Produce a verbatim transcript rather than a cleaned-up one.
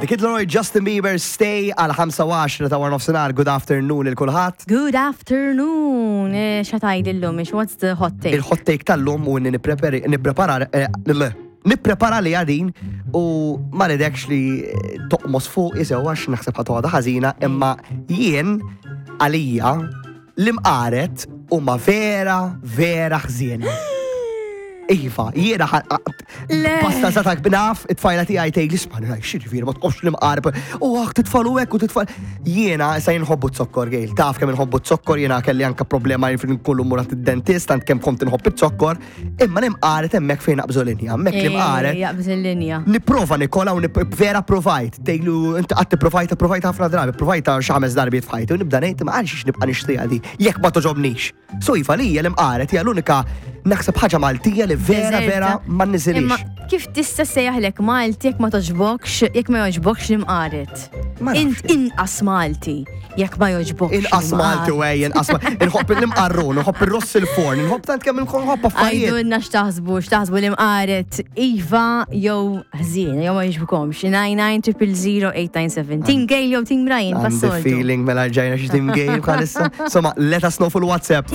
The Kid Laroi, Justin Bieber, "Stay" għal ħamsa u għaxra ta' wara nofsinhar. Good afternoon lil kulħadd. Good afternoon. Eh, X'għandek illum, ix what's the hot take? Il-hot take tal-lum u inni nipprepari- nipprepara eh, le, nipprepara li għadin u ma ridekx li toqmos fuq jisew għax naħseb ħa toħodha ħażina, imma jien għalija l-imqaret huma vera vera ħżiena. Iva, jiena Le. Pasta satak bnaf, it-tfajla tiegħi tgħid li isma' x'jiġifieri ma tqofx l-imqar. U għak titfalu hekk u titfal. Jiena issa nħobbu z-zokkor, Gail, taf kemm inħobbu z-zokkor, jiena kelli anka problema jien kollu murat id-dentist, tant kemm kont inħobb iz-zokkor, imma l-imqaret hemmhekk fejn naqbżu linja, hemmhekk l-imqaret. Eh, Jaqbż il-linja. Nipprova nikola u nip- vera provajt. Tgħidlu inti qatt provajta, provajt ħafna drabi, provajta xi ħames darbiet f'ħajti u nibda ngħid ma għalxiex nibqa' nixtriha di jekk ma toġobnix. So iva, lija l-imqaret hija l-unika naħseb ħaġa Maltija li vera Deżerta. vera ma nniżilix. Imma kif tista' sejjaħlek Malti jekk ma toġbokx, jekk ma joġbokx l-imqaret? Ma nafx. Int inqas Malti jekk ma joġbokx Inqas Malti u ej, inqas Malti. Inħobb l-imqarrun, inħobb il-ross il-forn, inħobb tant kemm inħobb affarijiet. Għidulna x'taħsbu, x'taħsbu l-imqaret iva jew ħżiena, jew ma jogħġbukomx. nine nine zero zero eight nine seven. Team Gail jew Team Ryan, Għandi passoltu. feeling mela ġajna xi Team Gail bħalissa. Insomma, let us know full WhatsApp.